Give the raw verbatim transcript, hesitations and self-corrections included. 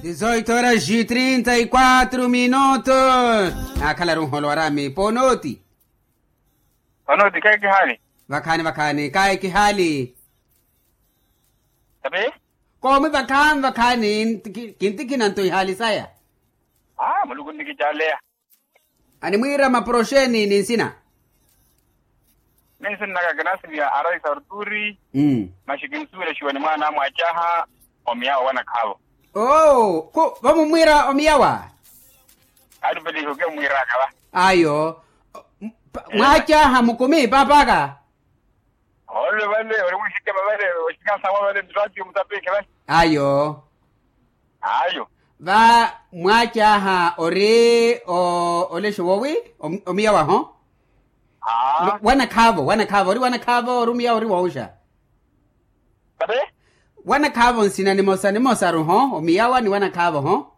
Dizoito horas e trinta e quatro minutos. Nakhalaru nholo warami ponoti. Ponoti kayi kihali. Vakhani vakhani kayi kihali. Tapi. Komi vakhani vakhani. Kintikhina nto ihali saya. Aa muluku nnikicaleya. Animwiira maproxeni ni nsina. Ni nsina naka kinasiviya araisa ruturi. Masi kinsuwela xiwani mwaana amwacaha omiyawa wanakhaavo. Oo. Vamumwiira omiyawa. Atupelihi oke mwiiraka va. Ayo. Mwacaha mukumi paapaka. Ole vale ori mwiixikema vale oxikasawa vale nratiyo mutapikhe vale. Ayo. Ayo. Va mwacaaha ori olexa wowi. Omiyawaho. Wanakhaavo wanakhaavo ori wanakhaavo ori omiyawa ori wooxa. Tate. Wanakhaavo nsina nimosa nimosaruho omiyawa ni wanakhaavoho.